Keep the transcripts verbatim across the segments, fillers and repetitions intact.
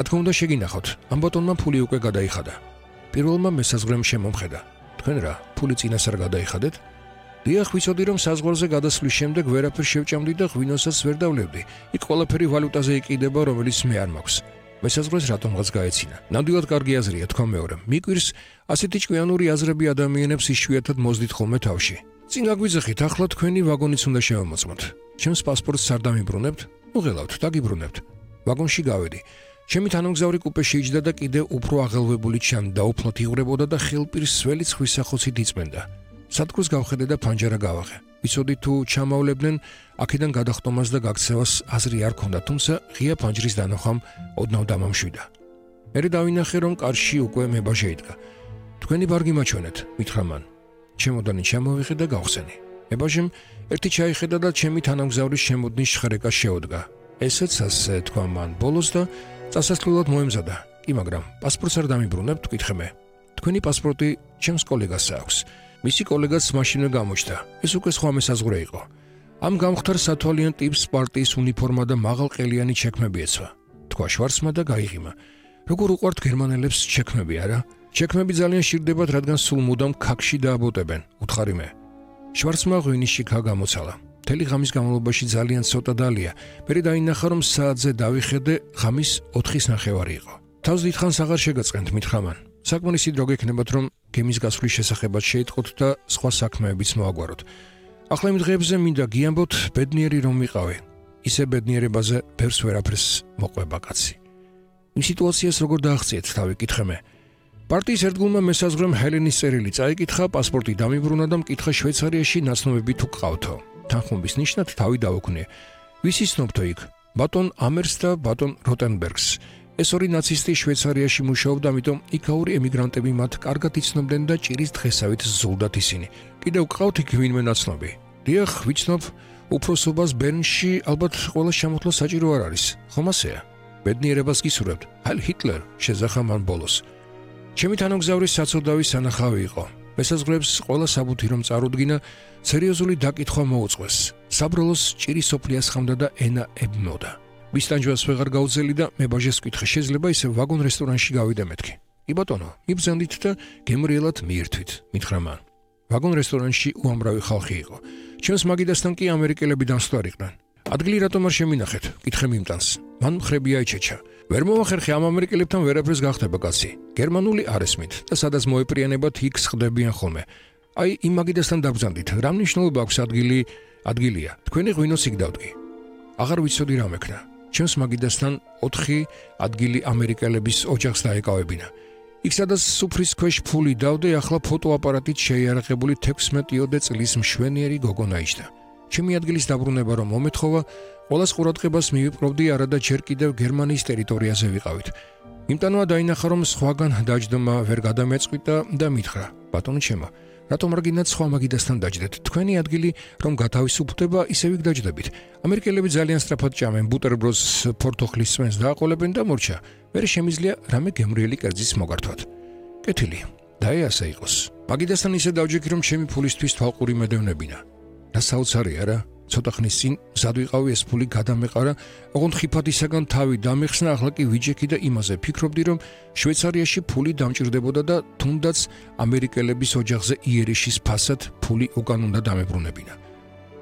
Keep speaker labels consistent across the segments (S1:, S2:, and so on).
S1: რა თქმა უნდა შეგინახოთ, ამ ბატონმა ფული უკვე გადაიხადა. პირველმა მესაზღვრემ შემომხედა. თქვენ რა, ფული წინას არ გადაიხადეთ? დიახ, ვიცოდი რომ საზღვარზე გადასვლის შემდეგ ვერაფერ შევჭამდი და ღვინოსაც ვერ დავლევდი. იქ ყველაფერი ვალუტაზე იყიდება, რომელიც მე არ მაქვს. მესაზღვრეს რატომღაც გაეცინა. ნამდვილად კარგი აზრია, თქვა მეორე. მიკვირს, ასეთი ჭკვიანური აზრები ადამიანებს იშვიათად მოძდით ხოლმე თავში. წინ გაგვიძახით, ახლა თქვენი ვაგონიც უნდა შევამოწმოთ. ჩემს პასპორტს არ დამიბრუნებთ? ნუ ღელავთ, დაგიბრუნებთ. ვაგონში გავედი. ჩემი თანამგზავრი კუპეში იჯდა და კიდევ უფრო აღელვებული ჩანდა, უფლოდ იღვრებოდა და ხელპირს სველი ცხვის სახოცით იწმენდა. სადგურს გავხედე და ფანჯარა გავაღე. ვიცოდი თუ ჩამავლებდნენ, აქედან გადახტომას და გაქცევას აზრი არ ქონდა, თუმცა ღია ფანჯრის დანახვამ ოდნავ დამამშვიდა. მერე დავინახე, რომ კარში უკვე მებაჟე იდგა. თქვენი ბარგი მაჩვენეთ, მითხრა მან. ჩემოდანი ჩამოვიღე და გავხსენი. მებაჟემ ერთი ჩაიხედა და ჩემი თანამგზავრის შემოდნის შხრეკა შეუდგა. ესეც ასე, თქვა მან ბოლოს და წასასვლელად მოემზადა. კი, მაგრამ პასპორტს არ დამიბრუნებთ, ვკითხე მე. თქვენი პასპორტი ჩემს კოლეგას აქვს. მისი კოლეგაც მაშინვე გამოჩნდა. ეს უკვე სხვა მესაზღვრე იყო. ამ გამختار სათვალიან ტიპს პარტიის უნიფორმა და მაღალყელიანი ჩექმები ეცვა. თქვა შვარცმა და გაიღიმა. როგორ უყვართ გერმანელებს ჩექმები, არა? ჩექმები ძალიან შირდებათ, რადგან სულ მუდამ ქაქში დააბოტებენ, უთხარი მე. შვარცმა ღვინის შიქა გამოცალა. მთელი ღამის განმავლობაში ძალიან ცოტა დალია. მერე დაინახა, რომ საათზე დავიხედე, ღამის ოთხის ნახევარი იყო. თავს დიდხანს აღარ შეგაწყენთ, მითხრა მან. საკმარისი დრო გექნებათ, რომ გემის გასვლის შესახებაც შეიტყოთ და სხვა საქმეებიც მოაგვაროთ. ახლა იმ დღეებზე მინდა გიამბოთ, ბედნიერი რომ ვიყავი. ისე ბედნიერებაზე ბევრს ვერაფერს მოყვება კაცი. იმ სიტუაციას როგორ დააღწიეთ, თავი კითხე მე. პარტიის ერთგულმა მესაზღვრემ ჰელენის წერილი წაიკითხა, პასპორტი დამიბრუნა და მკითხა შვეიცარიაში ნაცნობები თუ გყავთო. თანხმობის ნიშნად თავი დაუქნია. ვისი ცნობთო იქ? ბატონ ამერს და ბატონ როტენბერგს. ეს ორი ნაცისტი შვეიცარიაში მუშაობდა, ამიტომ იქაური ემიგრანტები მათ კარგად იცნობდნენ და ჭირის დღესავით ზულდათ ისინი. კიდევ გყავთ იქ ვინმე ნაცნობი? დიახ, ვიცნობ, უფროსობას ბერნში ალბათ ყველა შემოთვლა საჭირო არ არის. ხომ ასეა? ბედნიერებას გისურვებთ. ჰაილ ჰიტლერ, შეძახა მან ბოლოს. ჩემი თანამგზავრის საცოდავი სანახავი იყო. მესაზღვრებს ყველა საბუთი რომ წარუდგინა, სერიოზული დაკითხვა მოუწყვეს. საბრალოს ჭირი სოფლიას ხამდა და ენა ებმოდა. მისტანჯვას ვეღარ გაუძელი და მებაჟეს ვკითხე, შეიძლება ისე ვაგონ რესტორანში გავიდე მეთქი. კი ბატონო, მიბრძანდით და გემრიელად მიირთვით, მითხრა მან. ვაგონ რესტორანში უამრავი ხალხი იყო. ჩემს მაგიდასთან კი ამერიკელები დამსვლარიყვნენ. ადგილი რატომ არ შემინახეთ? კითხე მიმტანს. მან მხრები აიჩეჩა. ვერ მომახერხე, ამ ამერიკელებთან ვერაფერს გახდება კაცი. გერმანული არ ესმით და სადაც მოეპრიანებათ, იქ სხდებიან ხოლმე. აი, იმ მაგიდასთან დაბრძანდით. რა მნიშვნელობა აქვს ადგილი? ადგილია. თქვენი ღვინოს იქ დავდგი. აღარ ვიცოდი რა მექნა. ჩემს მაგიდასთან ოთხი ადგილი ამერიკელების ოჯახს დაეკავებინა. იქ სადაც სუფრის ქვეშ ფული დავდე, ახლა ფოტოაპარატით შეიარაღებული თექვსმეტიოდე წლის მშვენიერი გოგონა იჯდა. ჩემი ადგილის დაბრუნება რომ მომეთხოვა, ყველას ყურადღებას მივიპყრობდი, არადა ჯერ კიდევ გერმანიის ტერიტორიაზე ვიყავით. იმტანოა დაინახა, რომ სხვაგან დაჯდომა ვერ გადამეწყვიტა და მითხრა: ბატონო ჩემო, რატომ არ გინდათ სხვა მაგიდასთან დაჯდეთ? თქვენი ადგილი რომ გათავისუფლდება, ისევ იქ დაჯდებით. ამერიკელები ძალიან სწრაფად ჭამენ, ბუტერბროდს ფორთოხლის წვენს დააყოლებენ და მორჩა. მერე შემიძლია რამე გემრიელი კერძის მოგართვათ. კეთილი, დაეასა იყოს. მაგიდასთან ისე დავჯექი, რომ ჩემი ფულისთვის თვალყური მედევნებინა. რა საოცარია რა? ცოტა ხნის წინ მზად ვიყავი ეს ფული გადამეყარა, ოღონდ ხიფათისაგან თავი დამეხსნა, ახლა კი ვიჯექი და იმაზე ფიქრობდი, რომ შვეიცარიაში ფული დამჭირდებოდა და თუნდაც ამერიკელების ოჯახზე იერიშის ფასად ფული უკან უნდა დამებრუნებინა.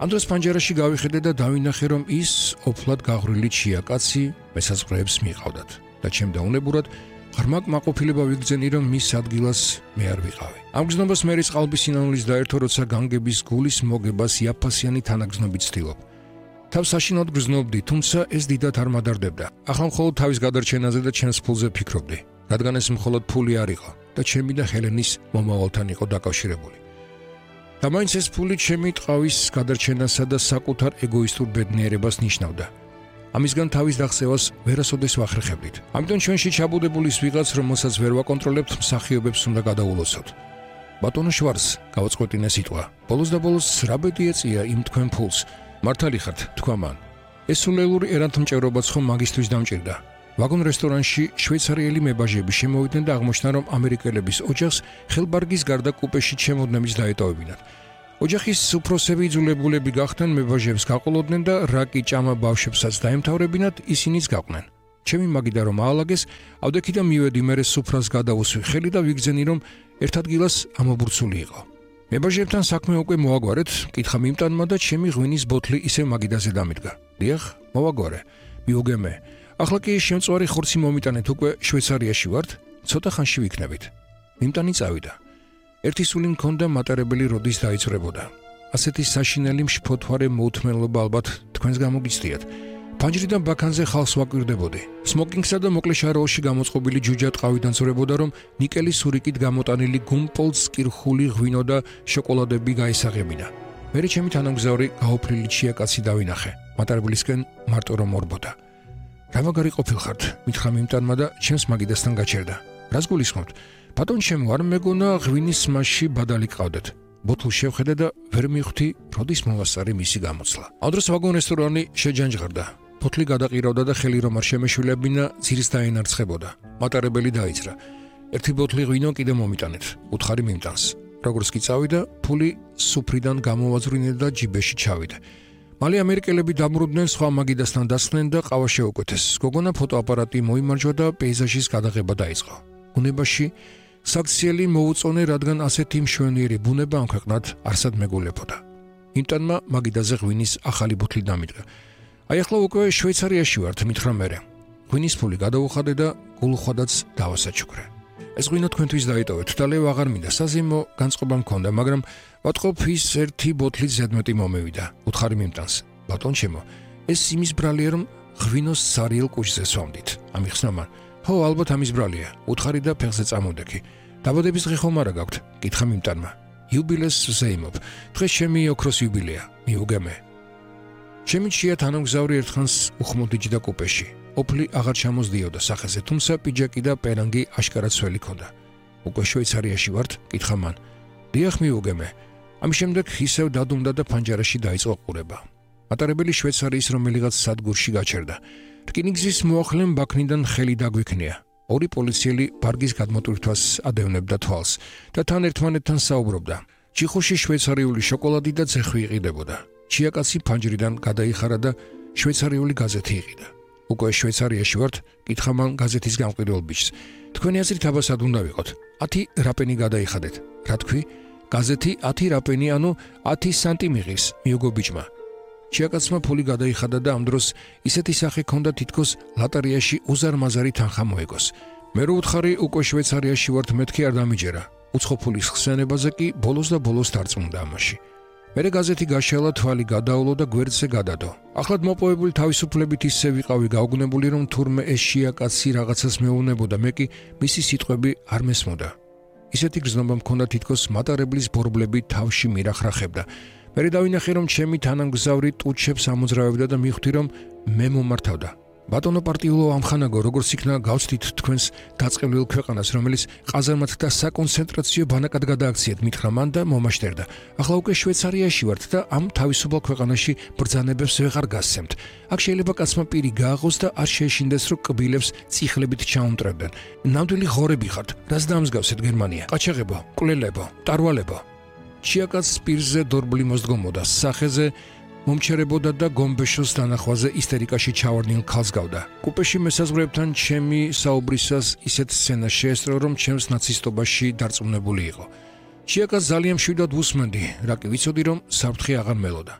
S1: ამ დროს ფანჯარაში გავიხედე და დავინახე, რომ ის ოფლად გაღვრილი ჩიაკაცი მესაზღვრეებს მიყავდათ და ჩემ დაუნებურად ღრმა კმაყოფილება ვიგრძენი, რომ მის ადგილას მე არ ვიყავი. ამ გზნობას მერის ყალბის სინანულის დაერთო, როცა განგების გულის მოგებას იაფფასიანი თანაგზნობით ვცდილობ. თავს საშინოდ გრძნობდი, თუმცა ეს დიდად არ მადარდებდა. ახლა მხოლოდ თავის გადარჩენაზე და ჩემს ფულზე ფიქრობდი, რადგან ეს მხოლოდ ფული არ იყო და ჩემი და ჰელენის მომავალთან იყო დაკავშირებული. და მაინც ეს ფული ჩემი ტყავის გადარჩენასა და საკუთარ ეგოისტურ ბედნიერებას ნიშნავდა. ამისგან თავის დახსევას ვერასოდეს ვახერხებდით. ამიტომ ჩვენში ჩაბუდებულის ვიღაც, რომელსაც ვერ ვაკონტროლებთ, მსახიობებს უნდა გადაულოცოთ. ბატონო შვარც, გავაწყვეტინე სიტყვა. ბოლოს და ბოლოს რა ბედი ეწია იმ თქვენ ფულს? მართალი ხართ, თქვა მან. ეს სულელური ერანთმჭერობაც ხომ მაგისტრის დამჭირდა. ვაგონ რესტორანში შვეიცარიელი მებაჟები შემოვიდნენ და აღმოჩნდა, რომ ამერიკელების ოჯახს ხელბარგის გარდა კუპეში ჩემოდნებიც დაეტოვებინათ. ოჯახის უფროსები იძულებულები გახდნენ მებაჟებს გაყოლოდნენ და რა კი ჭამა ბავშვებსაც დაემთავრებინათ, ისინიც გაყვნენ. ჩემი მაგიდა რომ აალაგეს, ავდექიდან მივედი მერე სუფრას გადავუსვი ხელი და ვიგზენი რომ ერთ ადგილას ამობურცული იყო. მებაჟებთან საქმე უკვე მოაგვარეთ, კითხა მიმტანმა და ჩემი ღვინის ბოთლი ისევ მაგიდაზე დამიდგა. დიახ, მოვაგვარე. მიუგემე. ახლა კი შემწვარი ხორცი მომიტანეთ უკვე შვეიცარიაში ვართ, ცოტა ხანში ვიქნებით. მიმტანი წავიდა. ერთი სული მქონდა მატარებელი როდის დაიწრებოდა. ასეთი საშინელი მშფოთვარე მოუთმენლობა ალბათ თქვენს გამოგიცდიათ. ფანჯრიდან ბაქანზე ხალხს ვაკვირდებოდი. სმოკინგსა და მოკლე შარაოში გამოწყობილი ჯუჯა ტყავიდან ზრებოდა რომ ნიკელის სურიკით გამოტანილი გუმპოლს კირხული ღვინო და შოკოლადები გაისაღებინა. მერე ჩემი თანამგზავრი გაოფლილი ჩიაკაცი დავინახე. მატარებლისკენ მარტო რომ ორბოდა. რა მაგარი ყოფილხართ, მითხრა მიმტანმა და ჩემს მაგიდასთან გაჩერდა. რას გულისხმობთ? ბატონ ჩემო, არ მეგონა ღვინის მასში ბადალი ყავდეთ. ბოთლს შევხედე და ვერ მივხვდი, როდის მოვასწარი მისი გამოცლა. ამ დროს ვაგონ რესტორანი შეჯანჯღარდა. ბოთლი გადაყირავდა და ხელი რომ არ შემეშვილებინა, ძირს დაენარცხებოდა. მატარებელი დაიძრა. ერთი ბოთლი ღვინო კიდე მომიტანეთ. უთხარი მიმტანს. როგორც კი წავიდა, ფული სუფრიდან გამოვაზრინე და ჯიბეში ჩავიდა. მალე ამერიკელები დამრუდნენ, სხვა მაგიდასთან დასხდნენ და ყავა შეუკვეთეს. გოგონა ფოტოაპარატი მოიმარჯვა და პეიზაჟის გადაღება დაიწყო. ბუნებაში საქციელი მოუწონე, რადგან ასეთი მშვენიერი ბუნება ამ ქვეყნად არსად მეგოლებოდა. იმტანმა მაგიდაზე ღვინის ახალი ბოთლი დამიდგა. აი ახლა უკვე შვეიცარიაში ვართ, მითხრა მერე. ღვინის ფული გადავუხადე და გულუხვადაც დავასაჩუქრე. ეს ღვინო თქვენთვის დაიტოვეთ და ლევ აღარ მინდა, საზეიმო განწყობა მქონდა, მაგრამ ვატყობ ის ერთი ბოთლით ზედმეტი მომევიდა. უთხარი მიმტანს. ბატონ ჩემო, ეს იმის ბრალია რომ ღვინოს სარიელ კუჭზე სვამდით. ამიხსნა მან. ხო, ალბათ ამის ბრალია. უთხარი და ფეხზე წამოდექი. დაბადების დღე ხომ არა გაქვთ? კითხა მიმტანმა. იუბილეს ვზეიმობ. დღეს ჩემი ოქროს იუბილეა. მიუგემე. ჩემი ჩია თანამგზავრი ერთხანს უხმოდიჯდა კუპეში. ოფლი აღარ ჩამოსდიოდა სახეზე, თუმცა პიჯაკი და პერანგი აშკარად სველი ქონდა. უკვე შვეიცარიაში ვართ? კითხა მან. დიახ, მიუგემე. ამის შემდეგ ისევ დადუმდა და ფანჯარაში დაიწყო ყურება. მატარებელი შვეიცარიის რომელიღაც სადგურში გაჩერდა. რკინიგზის მოახლემ ბაქნიდან ხელი დაგვიქნია. ორი პოლიციელი ბარგის გადმოტვირთვას ადევნებდა თვალს და თან ერთმანეთთან საუბრობდა. ჩიხოში შვეიცარიული შოკოლადი და ცეხვი იყიდებოდა. ჩიაკაცი ფანჯრიდან გადაიხარა და შვეიცარიული გაზეთი იყიდა. უკვე შვეიცარიაში ვართ? კითხა მან გაზეთის გამყიდველ ბიჭს. თქვენი აზრით აბასად უნდა ვიყოთ. ათი რაპენი გადაიხადეთ. რა თქვი? გაზეთი ათი რაპენი, ანუ ათი სანტი მიღის, მიუგო ბიჭმა. ჩიაკაცმა ფული გადაიხადა და ამ დროს ისეთი სახე ჰქონდა, თითქოს ლატარიაში უზარმაზარი თანხა მოეგოს. მე რო უთხარი უკვე შვეიცარიაში ვართ, მეთქი არ დამიჯერა. უცხო ფულის ხსენებაზე კი ბოლოს და ბოლოს დარწმუნდა ამაში. მერე გაზეთი გაშალა, თვალი გადაავლო და გვერდზე გადადო. ახლად მოპოვებული თავისუფლებით ისე ვიყავი გაუგნებული, რომ თურმე ეს შიაკაცი რაღაცას მეუბნებოდა, მე კი მისი სიტყვები არ მესმოდა. ისეთი გრძნობა მქონდა, თითქოს მატარებლის ბორბლები თავში მირახრახებდა. მერე დავინახე, რომ ჩემი თანამგზავრი ტუჩებს ამოძრავებდა და მივხვდი, რომ მე მომართავდა. ბატონო პარტიულო ამხანაგო, როგორც იქნა გავცდით თქვენს დაწყევლილ ქვეყანას, რომელიც ყაზარმად და საკონცენტრაციო ბანაკად გადააქციეთ, მითხრა მან და მომაშტერდა. ახლა უკვე შვეიცარიაში ვართ და ამ თავისუფალ ქვეყანაში ბრძანებებს ვეღარ გასცემთ. აქ შეიძლება კაცმა პირი გააღოს და არ შეეშინდეს, რომ კბილებს წიხლებით ჩაუმტრებდნენ. ნამდვილი ღორები ხართ, რას დამსგავსეთ გერმანია? ყაჩაღებო, მკვლელებო, ტარვალებო. ჩიაკაც პირზე დორბლი მოსდგომოდა, სახეზე მომჩერებოდა და გომბეშოს დანახვაზე ისტერიკაში ჩავარდნილ ქალს გავდა. კუპეში მესაზღვრეებთან ჩემი საუბრისას ისეთ სცენა შეესწრო, რომ ჩემს ნაცისტობაში დარწმუნებული იყო. ჩიაკაც ძალიან მშვიდად ვუსმენდი, რა კი ვიცოდი, რომ საფრთხე აღარ მელოდა.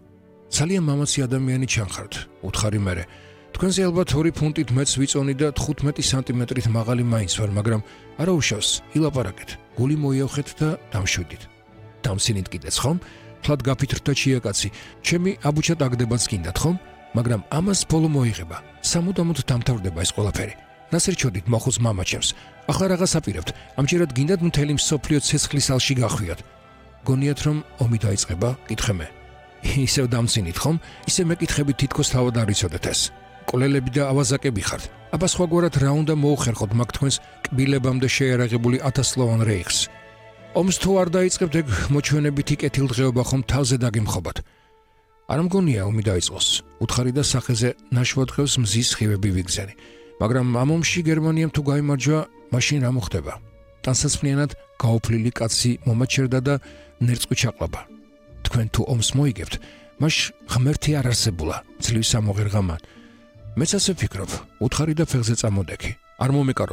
S1: ძალიან მამაცი ადამიანი ჩანხართ, უთხარი მერე. თქვენზე ალბათ ორი ფუნტით მეც ვიწონი და თხუთმეტი სანტიმეტრით მაღალი მაინც ვარ, მაგრამ არა უშავს, ილაპარაკეთ. გული მოიავხეთ და დამშვიდით. დამსინით კიდეც ხომ? თლად გაფითრდა ჩიაკაცი. ჩემი აბუჩა დაგდებაც გინდათ ხომ? მაგრამ ამას ბოლო მოიღება. სამუდამოდ დამთავრდება ეს ყველაფერი. რას ერჩოდით მოხუც მამა ჩემს? ახლა რაღაც აპირებთ. ამჯერად გინდათ მთელი მსოფლიო ცეცხლის ალში გახვიათ. გონიათ რომ ომი დაიწყება? კითხე მე. ისევ დამსინით ხომ? ისე მეკითხებით თითქოს თავად არ იცოდეთ ეს. კოლელები და ავაზაკები ხართ. აბა სხვაგვარად რა უნდა მოუხერხოთ მაგ თქვენს კბილებამდე შეერაღებული ათასლოვან რეიხს? ომს თუ არ დაიწყებთ, ეგ მოჩვენებითი კეთილდღეობა ხომ თავზე დაგემხობათ. არ მგონია ომი დაიწყოს. უთხარი და სახეზე ნაშვად დღეს მზის ხივები ვიგზენი. მაგრამ ამ ომში გერმანიამ თუ გაიმარჯვა, მაშინ რა მოხდება? ტანსაცმლიანად გაოფლილი კაცი მომაჩერდა და ნერწყვი ჩაყლაბა. თქვენ თუ ომს მოიგებთ, მაშ ღმერთი არ არსებულა, ძლივს ამოღერღა მან. მეც ასე ვფიქრობ, უთხარი და ფეხზე წამოდექი. არ მომეკარო